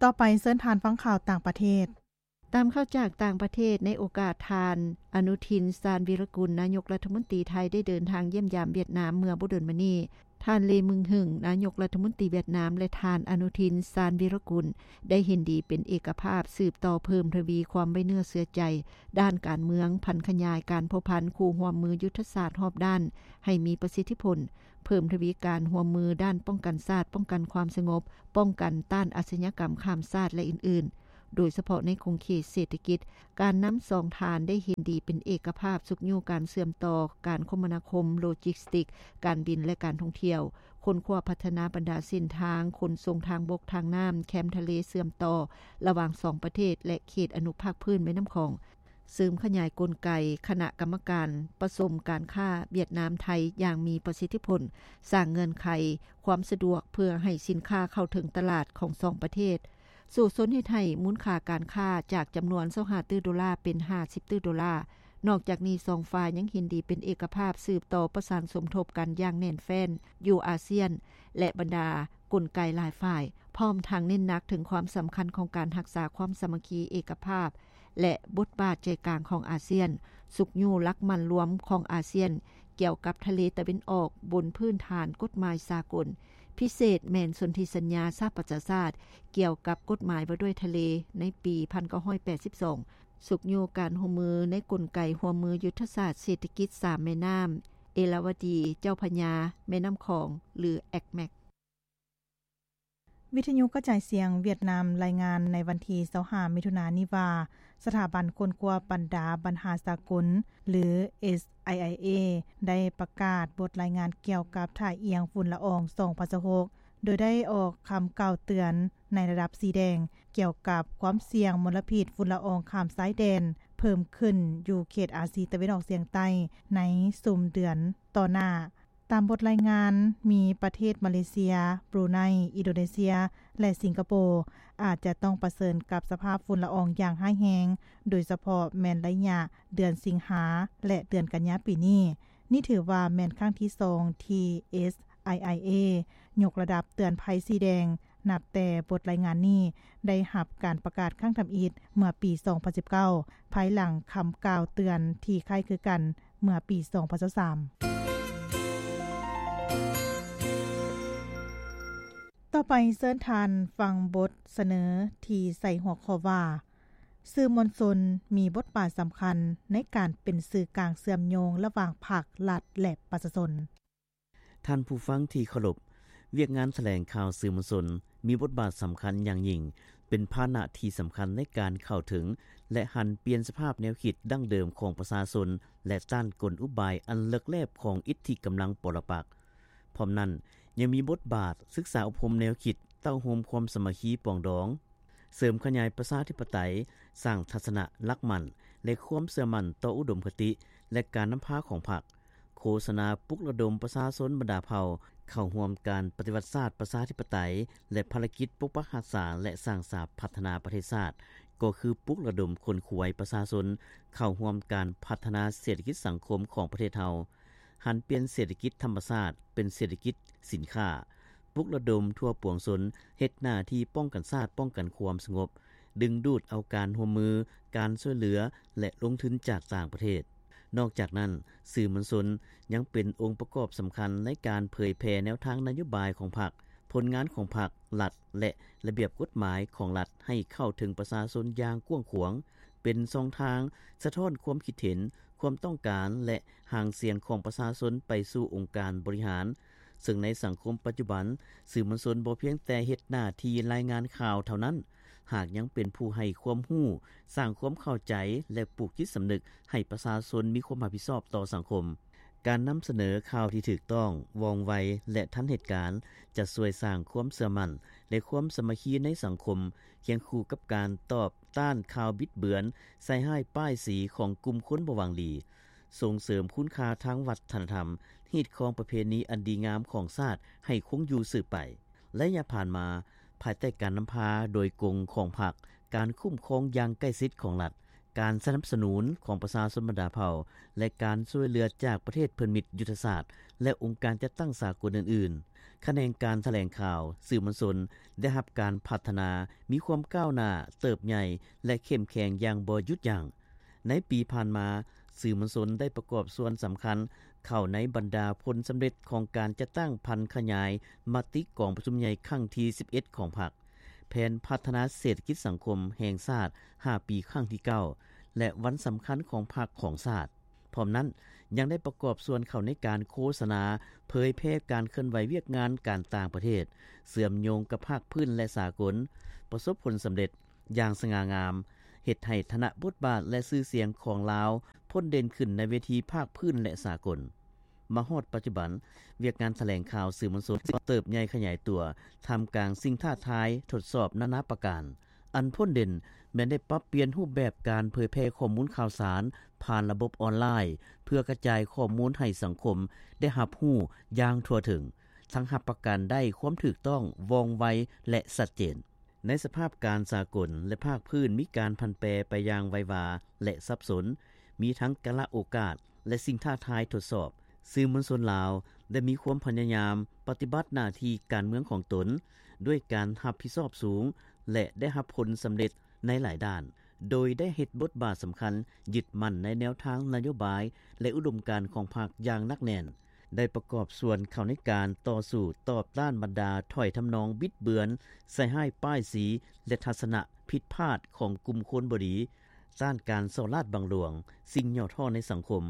ຕໍ່ໄປເຊີນທ່ານຟັງຂ່າວຕ່າງປະເທດ. ຕາມຂ່າວຈາກຕ່າງປະເທດ, ໃນໂອກາດທ່ານ ອະນຸທິນ ຊານວີຣະກຸນ ນາຍົກລັດຖະມົນຕີໄທ ໄດ້ເດີນທາງຢ້ຽມຢາມຫວຽດນາມເມື່ອບໍ່ດົນມານີ້, ທ່ານ ເລ ມຶງຫຶງ ນາຍົກລັດຖະມົນຕີຫວຽດນາມ ແລະ ທ່ານ ອະນຸທິນ ຊານວີຣະກຸນ ໄດ້ເຫັນດີເປັນເອກະພາບ ສືບຕໍ່ເພີ່ມທະວີຄວາມໄວ້ເນື້ອເຊື່ອໃຈ ດ້ານການເມືອງ, ຜັນຂະຫຍາຍການພົວພັນຄູ່ຮ່ວມມືຍຸດທະສາດຮອບດ້ານໃຫ້ມີປະສິດທິຜົນ, ເພີ່ມທະວີການຮ່ວມມືດ້ານປ້ອງກັນຊາດ, ປ້ອງກັນຄວາມສະຫງົບ, ປ້ອງກັນຕ້ານອາຊະຍາກຳຂ້າມຊາດ ແລະ ອື່ນໆ, ໂດຍສະເພາະໃນຂົງເຂດເສດຖະກິດ. ການນຳສອງທ່ານໄດ້ເຫັນດີເປັນເອກະພາບ ຊຸກຍູ້ການເຊື່ອມຕໍ່ການຄົມມະນາຄົມ, ໂລຈິສຕິກ, ການບິນ ແລະ ການທ່ອງທ່ຽວ, ຄົ້ນຄວ້າພັດທະນາບັນດາເສັ້ນທາງຂົນສົ່ງທາງບົກ, ທາງນ້ຳ, ແຄມທະເລເຊື່ອມຕໍ່ລະຫວ່າງສອງປະເທດ ແລະ ເຂດອະນຸພາກພື້ນແມ່ນ້ຳຂອງ, ເສີມຂະຫຍາຍກົນໄກຄະນະກຳມະການປະສົມການຄ້າຫວຽດນາມ-ໄທຢ່າງມີປະສິດທິຜົນ, ສ້າງເງື່ອນໄຂຄວາມສະດວກເພື່ອໃຫ້ສິນຄ້າເຂົ້າເຖິງຕະຫຼາດຂອງສອງປະເທດ, ສູ້ຊົນເຮັດໃຫ້ມູນຄ່າການຄ້າຈາກຈຳນວນຊາວຫ້າຕື້ໂດລາເປັນຫ້າສິບຕື້ໂດລາ. ນອກຈາກນີ້, ສອງຝ່າຍຍັງເຫັນດີເປັນເອກະພາບສືບຕໍ່ປະສານສົມທົບກັນຢ່າງແໜ້ນແຟ້ນຢູ່ອາຊຽນ ແລະ ບັນດາກົນໄກຫຼາຍຝ່າຍ, ພ້ອມທັງເນັ້ນໜັກເຖິງຄວາມສຳຄັນຂອງການຮັກສາຄວາມສາມັກຄີເອກະພາບ ແລະ ບົດບາດໃຈກາງຂອງອາຊຽນ, ຊຸກຍູ້ຫຼັກໝັ້ນລວມຂອງອາຊຽນກ່ຽວກັບທະເລຕາເວັນອອກບົນພື້ນຖານກົດໝາຍສາກົນ, ພິເສດແມ່ນສົນທິສັນຍາສະຫະປະຊາຊາດກ່ຽວກັບກົດໝາຍວ່າດ້ວຍທະເລໃນປີພັນເກົ້າຮ້ອຍແປດສິບສອງ, ຊຸກຍູ້ການຮ່ວມມືໃນກົນໄກຮ່ວມມືຍຸດທະສາດເສດຖະກິດສາມແມ່ນ້ຳ, ເອລາວະດີ, ເຈົ້າພະຍາ, ແມ່ນ້ຳຂອງ ຫຼື ແອັກແມັກ. ວິທະຍຸກະຈາຍສຽງຫວຽດນາມລາຍງານໃນວັນທີຊາວຫ້າ ມິຖຸນານີ້ວ່າ ສະຖາບັນຄົ້ນຄວ້າບັນດາບັນຫາສາກົນ ຫຼື ເອສໄອໄອເອ ໄດ້ປະກາດບົດລາຍງານກ່ຽວກັບທ່າອຽງຝຸ່ນລະອອງ ສອງພັນຊາວຫົກ ໂດຍໄດ້ອອກຄຳກ່າວເຕືອນໃນລະດັບສີແດງ ກ່ຽວກັບຄວາມສ່ຽງມົນລະພິດຝຸ່ນລະອອງຂ້າມຊາຍແດນເພີ່ມຂຶ້ນຢູ່ເຂດອາຊີຕາເວັນອອກສຽງໃຕ້ໃນຊຸມເດືອນຕໍ່ໜ້າ. ຕາມບົດລາຍງານ, ມີປະເທດມາເລເຊຍ, ບຣູໄນ, ອິນໂດເນເຊຍ ແລະ ສິງກະໂປ ອາດຈະຕ້ອງປະເຊີນກັບສະພາບຝຸ່ນລະອອງຢ່າງຮ້າຍແຮງ, ໂດຍສະເພາະແມ່ນໄລຍະເດືອນສິງຫາ ແລະ ເດືອນກັນຍາປີນີ້. ນີ້ຖືວ່າແມ່ນຄັ້ງທີສອງທີ່ ເອສໄອໄອເອ ຍົກລະດັບເຕືອນໄພສີແດງ, ນັບແຕ່ບົດລາຍງານນີ້ໄດ້ຮັບການປະກາດຄັ້ງທຳອິດເມື່ອປີສອງພັນສິບເກົ້າ ພາຍຫຼັງຄຳກ່າວເຕືອນທີ່ຄ້າຍຄືກັນເມື່ອປີສອງພັນຊາວສາມ. ຕໍ່ໄປເຊີນທ່ານຟັງບົດສະເໜີທີ່ໃສ່ຫົວຂໍ້ວ່າ ສື່ມວນຊົນມີບົດບາດສຳຄັນໃນການເປັນສື່ກາງເຊື່ອມໂຍງລະຫວ່າງພັກ, ລັດ ແລະ ປະຊາຊົນ. ທ່ານຜູ້ຟັງທີ່ເຄົາລົບ, ວຽກງານຖະແຫຼງຂ່າວສື່ມວນຊົນມີບົດບາດສຳຄັນຢ່າງຍິ່ງ, ເປັນພາຫະນະທີ່ສຳຄັນໃນການເຂົ້າເຖິງ ແລະ ຫັນປ່ຽນສະພາບແນວຄິດດັ້ງເດີມຂອງປະຊາຊົນ ແລະ ຕ້ານກົນອຸບາຍອັນເລິກແລບຂອງອິດທິກຳລັງປໍລະປັກ. ພ້ອມນັ້ນ, ຍັງມີບົດບາດສຶກສາອົບຮົມແນວຄິດເຕົ້າໂຮມຄວາມສາມັກຄີປອງດອງ, ເສີມຂະຫຍາຍປະຊາທິປະໄຕ, ສ້າງທັດສະນະຫຼັກໝັ້ນ ແລະ ຄວາມເຊື່ອໝັ້ນຕໍ່ອຸດົມຄະຕິ ແລະ ການນຳພາຂອງພັກ, ໂຄສະນາປຸກລະດົມປະຊາຊົນບັນດາເຜົ່າເຂົ້າຮ່ວມການປະຕິວັດຊາດປະຊາທິປະໄຕ ແລະ ພາລະກິດປົກປັກຮັກສາ ແລະ ສ້າງສາພັດທະນາປະເທດຊາດ, ກໍຄືປຸກລະດົມຂົນຂວາຍປະຊາຊົນເຂົ້າຮ່ວມການພັດທະນາເສດຖະກິດສັງຄົມຂອງປະເທດເຮົາ, ຫັນປ່ຽນເສດຖະກິດທຳມະຊາດເປັນເສດຖະກິດສິນຄ້າ, ປຸກລະດົມທົ່ວປວງຊົນເຮັດໜ້າທີ່ປ້ອງກັນຊາດ, ປ້ອງກັນຄວາມສະຫງົບ, ດຶງດູດເອົາການຮ່ວມມື, ການຊ່ວຍເຫຼືອ ແລະ ລົງທຶນຈາກຕ່າງປະເທດ. ນອກຈາກນັ້ນ, ສື່ມວນຊົນຍັງເປັນອົງປະກອບສຳຄັນໃນການເຜີຍແຜ່ແນວທາງນະໂຍບາຍຂອງພັກ, ຜົນງານຂອງພັກ, ລັດ ແລະ ລະບຽບກົດໝາຍຂອງລັດໃຫ້ເຂົ້າເຖິງປະຊາຊົນຢ່າງກວ້າງຂວາງ, ເປັນຊ່ອງທາງສະທ້ອນຄວາມຄິດເຫັນ, ຄວາມຕ້ອງການ ແລະ ຫາງສຽງຂອງປະຊາຊົນໄປສູ່ອົງການບໍລິຫານ, ເຊິ່ງໃນສັງຄົມປັດຈຸບັນ, ສື່ມວນຊົນບໍ່ພຽງແຕ່ເຮັດໜ້າທີ່ລາຍງານຂ່າວເທົ່ານັ້ນ, ຫາກຍັງເປັນຜູ້ໃຫ້ຄວາມຮູ້, ສ້າງຄວາມເຂົ້າໃຈ ແລະ ປູກຈິດສຳນຶກໃຫ້ປະຊາຊົນມີຄວາມຮັບຜິດຊອບຕໍ່ສັງຄົມ. ການນຳສະເໜີຂ່າວທີ່ຖືກຕ້ອງ, ວ່ອງໄວ ແລະ ທັນເຫດການ ຈະຊ່ວຍສ້າງຄວາມເຊື່ອໝັ້ນ ແລະ ຄວາມສາມັກຄີໃນສັງຄົມ, ຄຽງຄູ່ກັບການຕອບຕ້ານຂ່າວບິດເບືອນ, ໃສ່ຮ້າຍປ້າຍສີຂອງກຸ່ມຄົນບໍ່ຫວັງດີ, ສົ່ງເສີມຄຸນຄ່າທາງວັດທະນະທຳ, ຮີດຄອງປະເພນີອັນດີງາມຂອງຊາດໃຫ້ຄົງຢູ່ສືບໄປ. ໄລຍະຜ່ານມາ, ພາຍໃຕ້ການນຳພາໂດຍກົງຂອງພັກ, ການຄຸ້ມຄອງຢ່າງໃກ້ຊິດຂອງລັດ, ການສະໜັບສະໜູນຂອງປະຊາຊົນບັນດາເຜົ່າ ແລະ ການຊ່ວຍເຫຼືອຈາກປະເທດເພື່ອນມິດຍຸດທະສາດ ແລະ ອົງການຈັດຕັ້ງສາກົນອື່ນໆ. ຂະແໜງການຖະແຫຼງຂ່າວສື່ມວນຊົນໄດ້ຮັບການພັດທະນາ, ມີຄວາມກ້າວໜ້າ, ເຕີບໃຫຍ່ ແລະ ເຂັ້ມແຂງຢ່າງບໍ່ຢຸດຢັ້ງ. ໃນປີຜ່ານມາ, ສື່ມວນຊົນໄດ້ປະກອບສ່ວນສຳຄັນເຂົ້າໃນບັນດາຜົນສຳເລັດຂອງການຈັດຕັ້ງຜັນຂະຫຍາຍມະຕິກອງປະຊຸມໃຫຍ່ຄັ້ງທີສິບເອັດຂອງພັກ, ແຜນພັດທະນາເສດຖະກິດສັງຄົມແຫ່ງຊາດຫ້າປີຄັ້ງທີເກົ້າ ແລະ ວັນສຳຄັນຂອງພັກຂອງຊາດ. ພ້ອມນັ້ນ, ຍັງໄດ້ປະກອບສ່ວນເຂົ້າໃນການໂຄສະນາ, ເຜີຍແຜ່ການເຄື່ອນໄຫວວຽກງານການຕ່າງປະເທດ, ເຊື່ອມໂຍງກັບພາກພື້ນ ແລະ ສາກົນ, ປະສົບຜົນສຳເລັດ ຢ່າງສະຫງ່າງາມ, ເຮັດໃຫ້ຖານະບົດບາດ ແລະ ຊື່ສຽງຂອງລາວພົ້ນເດັ່ນຂຶ້ນໃນເວທີພາກພື້ນ ແລະ ສາກົນ. ມາຮອດປັດຈຸບັນ, ວຽກງານຖະແຫຼງຂ່າວສື່ມວນຊົນກໍເຕີບໃຫຍ່ຂະຫຍາຍຕົວ ທ່າມກາງສິ່ງທ້າທາຍທົດສອບນານາປະການ. ອັນພົ້ນເດັ່ນແມ່ນໄດ້ປັບປ່ຽນຮູບແບບການເຜີຍແຜ່ຂໍ້ມູນຂ່າວສານຜ່ານລະບົບອອນລາຍ ເພື່ອກະຈາຍຂໍ້ມູນໃຫ້ສັງຄົມໄດ້ຮັບຮູ້ຢ່າງທົ່ວເຖິງ, ທັງຮັບປະກັນໄດ້ຄວາມຖືກຕ້ອງ, ວ່ອງໄວ ແລະ ຊັດເຈນ. ໃນສະພາບການສາກົນ ແລະ ພາກພື້ນມີການຜັນແປໄປຢ່າງໄວວາ ແລະ ສັບສົນ, ມີທັງກາລະໂອກາດ ແລະ ສິ່ງທ້າທາຍທົດສອບ, ສື່ມວນຊົນລາວໄດ້ມີຄວາມພະຍາຍາມປະຕິບັດໜ້າທີ່ການເມືອງຂອງຕົນດ້ວຍການຮັບຜິດຊອບສູງ ແລະ ໄດ້ຮັບຜົນສຳເລັດໃນຫຼາຍດ້ານ, ໂດຍໄດ້ເຮັດບົດບາດສຳຄັນ, ຍຶດໝັ້ນໃນແນວທາງນະໂຍບາຍ ແລະ ອຸດົມການຂອງພັກຢ່າງໜັກແໜ້ນ. ໄດ້ປະກອບສ່ວນເຂົ້າໃນການຕໍ່ສູ້ຕອບຕ້ານບັນດາຖ້ອຍທຳນອງບິດເບືອນ, ໃສ່ຮ້າຍປ້າຍສີ ແລະ ທັດສະນະຜິດພາດຂອງກຸ່ມຄົນບໍ່ດີ, ຕ້ານການສໍ້ລາດບັງຫຼວງ, ສິ່ງຫຍໍ້ທໍ້ໃນສັງຄົມ,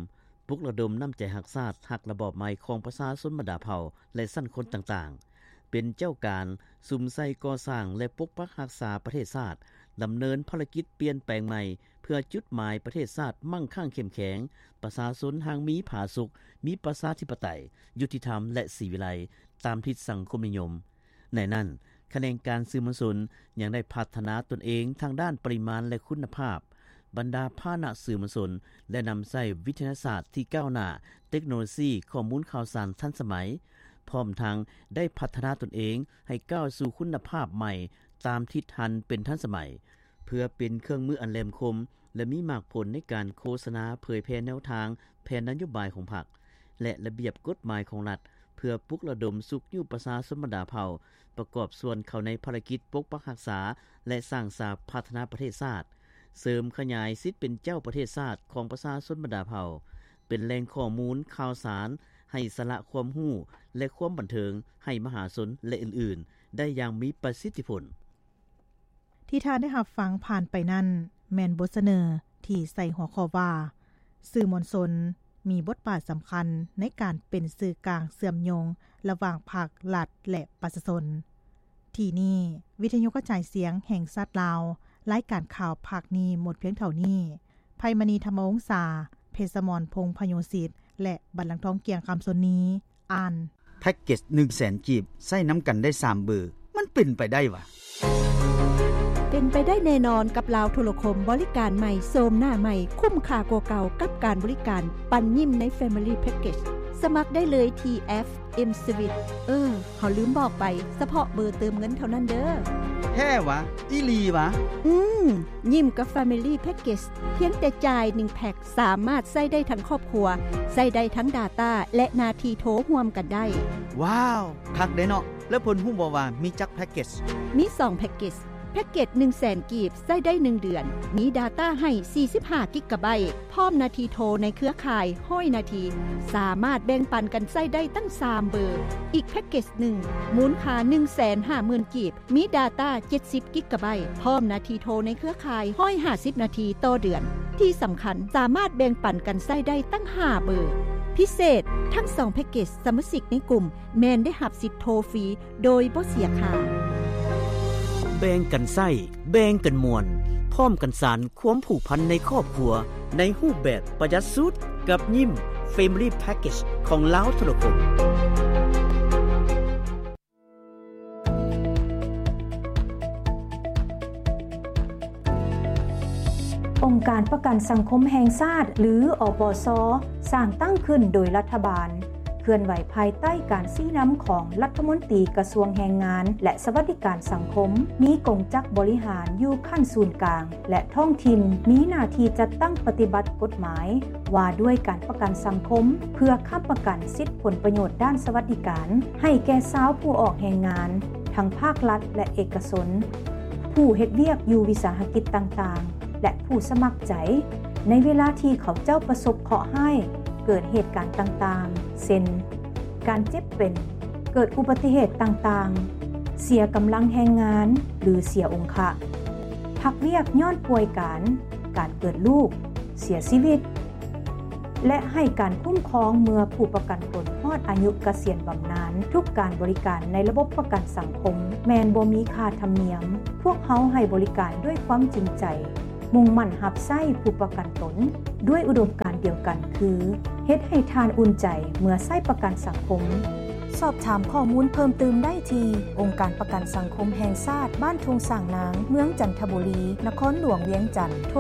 ປຸກລະດົມນ້ຳໃຈຮັກຊາດ, ຮັກລະບອບໃໝ່ຂອງປະຊາຊົນບັນດາເຜົ່າ ແລະ ຊັ້ນຄົນຕ່າງໆ, ເປັນເຈົ້າການສຸມໃສ່ກໍ່ສ້າງ ແລະ ປົກປັກຮັກສາປະເທດຊາດ, ດຳເນີນພາລະກິດປ່ຽນແປງໃໝ່ ເພື່ອຈຸດໝາຍປະເທດຊາດໝັ້ງຄັ່ງເຂັ້ມແຂງ, ປະຊາຊົນຮັ່ງມີຜາສຸກ, ມີປະຊາທິປະໄຕ, ຍຸຕິທຳ ແລະ ສີວິໄລ ຕາມທິດສັງຄົມນິຍົມ. ໃນນັ້ນ, ຂະແໜງການສື່ມວນຊົນຍັງໄດ້ພັດທະນາຕົນເອງທາງດ້ານປະລິມານ ແລະ ຄຸນນະພາບ. ບັນດາພາຫະນະສື່ມວນຊົນໄດ້ນຳໃຊ້ວິທະຍາສາດທີ່ກ້າວໜ້າ, ເຕັກໂນໂລຊີຂໍ້ມູນຂ່າວສານທັນສະໄໝ, ພ້ອມທັງໄດ້ພັດທະນາຕົນເອງໃຫ້ກ້າວສູ່ຄຸນນະພາບໃໝ່ຕາມທິດຫັນເປັນທັນສະໄໝ, ເພື່ອເປັນເຄື່ອງມືອັນແຫຼມຄົມ ແລະ ມີໝາກຜົນໃນການໂຄສະນາເຜີຍແຜ່ແນວທາງ, ແຜນນະໂຍບາຍຂອງພັກ ແລະ ລະບຽບກົດໝາຍຂອງລັດ ເພື່ອປຸກລະດົມຊຸກຍູ້ປະຊາຊົນບັນດາເຜົ່າ ປະກອບສ່ວນເຂົ້າໃນພາລະກິດປົກປັກຮັກສາ ແລະ ສ້າງສາພັດທະນາປະເທດຊາດ, ເສີມຂະຫຍາຍສິດເປັນເຈົ້າປະເທດຊາດຂອງປະຊາຊົນບັນດາເຜົ່າ, ເປັນແຫຼ່ງຂໍ້ມູນຂ່າວສານໃຫ້ສາລະຄວາມຮູ້ ແລະ ຄວາມບັນເທີງໃຫ້ມະຫາຊົນ ແລະ ອື່ນໆ ໄດ້ຢ່າງມີປະສິດທິຜົນ. ທີ່ທ່ານໄດ້ຮັບຟັງຜ່ານໄປນັ້ນ ແມ່ນບົດສະເໜີທີ່ໃສ່ຫົວຂໍ້ວ່າ ສື່ມວນຊົນມີບົດບາດສຳຄັນໃນການເປັນສື່ກາງເຊື່ອມໂຍງລະຫວ່າງພັກ, ລັດ ແລະ ປະຊາຊົນ. ທີ່ນີ້ ວິທະຍຸກະຈາຍສຽງແຫ່ງຊາດລາວ, ລາຍການຂ່າວພາກນີ້ໝົດພຽງເທົ່ານີ້. ໄພມະນີ ທຳມະວົງສາ, ເພດສະໝອນ ພົງພະໂຍສິດ ແລະ ບັນລັງທອງ ກຽງຄຳຊົນນີ ອ່ານ. ແພັກເກັດໜຶ່ງແສນກີບ ໃຊ້ນຳກັນໄດ້ສາມເບີ ມັນເປັນໄປໄດ້ຫວາ? ເປັນໄປໄດ້ແນ່ນອນກັບລາວໂທລະຄົມ ບໍລິການໃໝ່ໂສມໜ້າໃໝ່ ຄຸ້ມຄ່າກວ່າເກົ່າກັບການບໍລິການປັນຍິ້ມໃນ Family Package. ສະໝັກໄດ້ເລີຍທີ່ແອັບ M-Swiss. ເອີ ເຮົາລືມບອກໄປ, ສະເພາະເບີເຕີມເງິນເທົ່ານັ້ນເດີ. ແທ້ຫວາ? ອີ່ຫຼີຫວາ? ອືມ, ຍິ້ມກັບ Family Package ພຽງແຕ່ຈ່າຍໜຶ່ງແພັກ ສາມາດໃຊ້ໄດ້ທັງຄອບຄົວ, ໃຊ້ໄດ້ທັງ Data ແລະ ໜ້າທີ່ໂທຮ່ວມກັນໄດ້. ວ້າວ, ຄັກເດ້ເນາະ. ແລ້ວເພິ່ນຮູ້ບໍ່ວ່າມີຈັກແພັກເກັດ? ມີສອງແພັກເກັດ. ແພັກເກັດໜຶ່ງແສນກີບ ໃຊ້ໄດ້ໜຶ່ງເດືອນ, ມີ Data ໃຫ້ສີ່ສິບຫ້າກິກກະໄບ, ພ້ອມໜ້າທີ່ໂທໃນເຄືອຂ່າຍຮ້ອຍນາທີ, ສາມາດແບ່ງປັນກັນໃຊ້ໄດ້ຕັ້ງສາມເບີ. ອີກແພັກເກັດໜຶ່ງ ມູນຄ່າໜຶ່ງແສນຫ້າໝື່ນກີບ, ມີ Data ເຈັດສິບກິກກະໄບ, ພ້ອມໜ້າທີ່ໂທໃນເຄືອຂ່າຍຮ້ອຍຫ້າສິບນາທີຕໍ່ເດືອນ. ທີ່ສຳຄັນ, ສາມາດແບ່ງປັນກັນໃຊ້ໄດ້ຕັ້ງຫ້າເບີ. ພິເສດ, ທັງສອງແພັກເກັດສະມາຊິກໃນກຸ່ມແມ່ນໄດ້ຮັບສິດໂທຟຣີໂດຍບໍ່ເສຍຄ່າ. ແບ່ງກັນໃຊ້, ແບ່ງກັນມ່ວນ, ພ້ອມກັນສານຄວາມຜູກພັນໃນຄອບຄົວໃນຮູບແບບປະຢັດສຸດກັບຍິ້ມ Family Package ຂອງລາວໂທລະຄົມ. ອົງການປະກັນສັງຄົມແຫ່ງຊາດ ຫຼື ອປຊ ສ້າງຕັ້ງຂຶ້ນໂດຍລັດຖະບານ, ເຄື່ອນໄຫວພາຍໃຕ້ການຊີ້ນຳຂອງລັດຖະມົນຕີກະຊວງແຮງງານ ແລະ ສະຫວັດດີການສັງຄົມ, ມີກົງຈັກບໍລິຫານຢູ່ຂັ້ນສູນກາງ ແລະ ທ້ອງຖິ່ນ, ມີໜ້າທີ່ຈັດຕັ້ງປະຕິບັດກົດໝາຍວ່າດ້ວຍການປະກັນສັງຄົມ ເພື່ອຄ້ຳປະກັນສິດຜົນປະໂຫຍດດ້ານສະຫວັດດີການໃຫ້ແກ່ຊາວຜູ້ອອກແຮງງານ ທັງພາກລັດ ແລະ ເອກະຊົນ, ຜູ້ເຮັດວຽກຢູ່ວິສາຫະກິດຕ່າງໆ ແລະ ຜູ້ສະໝັກໃຈ ໃນເວລາທີ່ເຂົາເຈົ້າປະສົບເຄາະຮ້າຍ, ເກີດເຫດການຕ່າງໆ ເຊັ່ນ ການເຈັບເປັນ, ເກີດອຸບັດຕິເຫດຕ່າງໆ, ເສຍກຳລັງແຮງງານ ຫຼື ເສຍອົງຄະ, ພັກວຽກຍ້ອນປ່ວຍການ, ການເກີດລູກ, ເສຍຊີວິດ ແລະ ໃຫ້ການຄຸ້ມຄອງເມື່ອຜູ້ປະກັນຕົນຮອດອາຍຸກະສຽນບຳນານ. ທຸກການບໍລິການໃນລະບົບປະກັນສັງຄົມແມ່ນບໍ່ມີຄ່າທຳນຽມ. ພວກເຮົາໃຫ້ບໍລິການດ້ວຍຄວາມຈິງໃຈ, ມຸ່ງໝັ້ນຮັບໃຊ້ຜູ້ປະກັນຕົນດ້ວຍອຸດົມການດຽວກັນ ຄື ເຮັດໃຫ້ທ່ານອຸ່ນໃຈເມື່ອໃຊ້ປະກັນສັງຄົມ. ສອບຖາມຂໍ້ມູນເພີ່ມຕື່ມໄດ້ທີ່ ອົງການປະກັນສັງຄົມແຫ່ງຊາດ ບ້ານທົ່ງຊ້າງນາງ, ເມືອງຈັນທະບູລີ, ນະຄອນຫຼວງວຽງຈັນ. ໂທ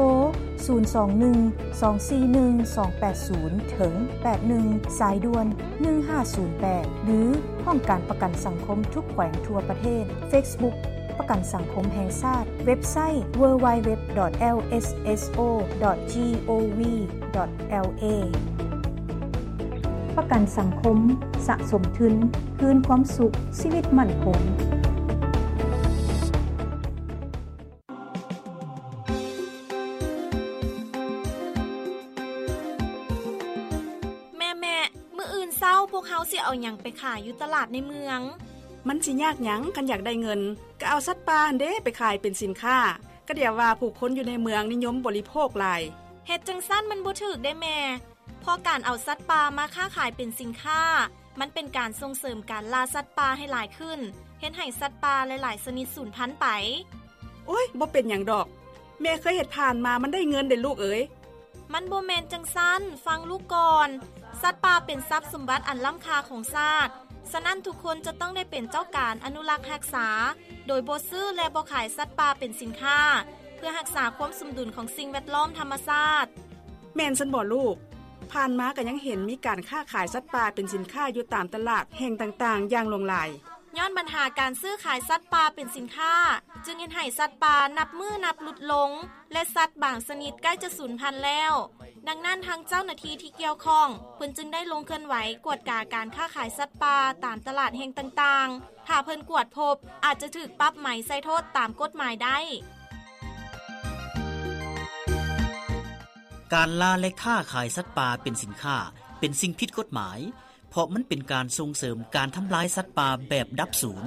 ສູນສອງໜຶ່ງ ສອງສີ່ໜຶ່ງ ສອງແປດສູນ ເຖິງ ແປດໜຶ່ງ ສາຍດ່ວນ ໜຶ່ງຫ້າສູນແປດ ຫຼື ຫ້ອງການປະກັນສັງຄົມທຸກແຂວງທົ່ວປະເທດ. Facebook ປະກັນສັງຄົມແຫ່ງຊາດ, ເວັບໄຊ www.lsso.gov.la. ປະກັນສັງຄົມ, ສະສົມທຶນ, ຄືນຄວາມສຸກ, ຊີວິດໝັ້ນຄົງ. ແມ່ໆ ມື້ອື່ນເຊົ້າພວກເຮົາຊິເອົາຫຍັງໄປຂາຍຢູ່ຕະຫຼາດໃນເມືອງ? ມັນຊິຍາກຫຍັງ ຄັນຢາກໄດ້ເງິນ ກໍເອົາສັດປ່າຫັ້ນເດ້ໄປຂາຍເປັນສິນຄ້າ. ກະດຽວວ່າຜູ້ຄົນຢູ່ໃນເມືອງນິຍົມບໍລິໂພກຫຼາຍ. ເຮັດຈັ່ງຊັ້ນມັນບໍ່ຖືກເດ້ແມ່. ເພາະການເອົາສັດປ່າມາຄ້າຂາຍເປັນສິນຄ້າ ມັນເປັນການສົ່ງເສີມການລ່າສັດປ່າໃຫ້ຫຼາຍຂຶ້ນ, ເຮັດໃຫ້ສັດປ່າຫຼາຍໆຊະນິດສູນພັນໄປ. ໂອ້ຍ ບໍ່ເປັນຫຍັງດອກ. ແມ່ເຄີຍເຮັດຜ່ານມາ ມັນໄດ້ເງິນເດ້ລູກເອີຍ. ມັນບໍ່ແມ່ນຈັ່ງຊັ້ນ, ຟັງລູກກ່ອນ. ສັດປ່າເປັນຊັບສົມບັດອັນລ້ຳຄ່າຂອງຊາດ, ສະນັ້ນທຸກຄົນຈະຕ້ອງໄດ້ເປັນເຈົ້າການອະນຸລັກຮັກສາ, ໂດຍບໍ່ຊື້ ແລະ ບໍ່ຂາຍສັດປ່າເປັນສິນຄ້າ, ເພື່ອຮັກສາຄວາມສົມດຸນຂອງສິ່ງແວດລ້ອມທຳມະຊາດ. ແມ່ນຊັ້ນບໍ່ລູກ? ຜ່ານມາກໍຍັງເຫັນມີການຄ້າຂາຍສັດປ່າເປັນສິນຄ້າຢູ່ຕາມຕະຫຼາດແຫ່ງຕ່າງໆຢ່າງຫຼວງຫຼາຍ. ຍ້ອນບັນຫາການຊື້ຂາຍສັດປ່າເປັນສິນຄ້າ, ຈຶ່ງເຮັດໃຫ້ສັດປ່ານັບມື້ນັບຫຼຸດລົງ ແລະ ສັດບາງຊະນິດໃກ້ຈະສູນພັນແລ້ວ. ດັ່ງນັ້ນ, ທາງເຈົ້າໜ້າທີ່ທີ່ກ່ຽວຂ້ອງ ເພິ່ນຈຶ່ງໄດ້ລົງເຄື່ອນໄຫວກວດກາການຄ້າຂາຍສັດປ່າຕາມຕະຫຼາດແຫ່ງຕ່າງໆ. ຖ້າເພິ່ນກວດພົບ, ອາດຈະຖືກປັບໃໝໃສ່ໂທດຕາມກົດໝາຍໄດ້. ການລ່າ ແລະ ຄ້າຂາຍສັດປ່າເປັນສິນຄ້າ ເປັນສິ່ງຜິດກົດໝາຍ, ເພາະມັນເປັນການສົ່ງເສີມການທຳລາຍສັດປ່າແບບດັບສູນ.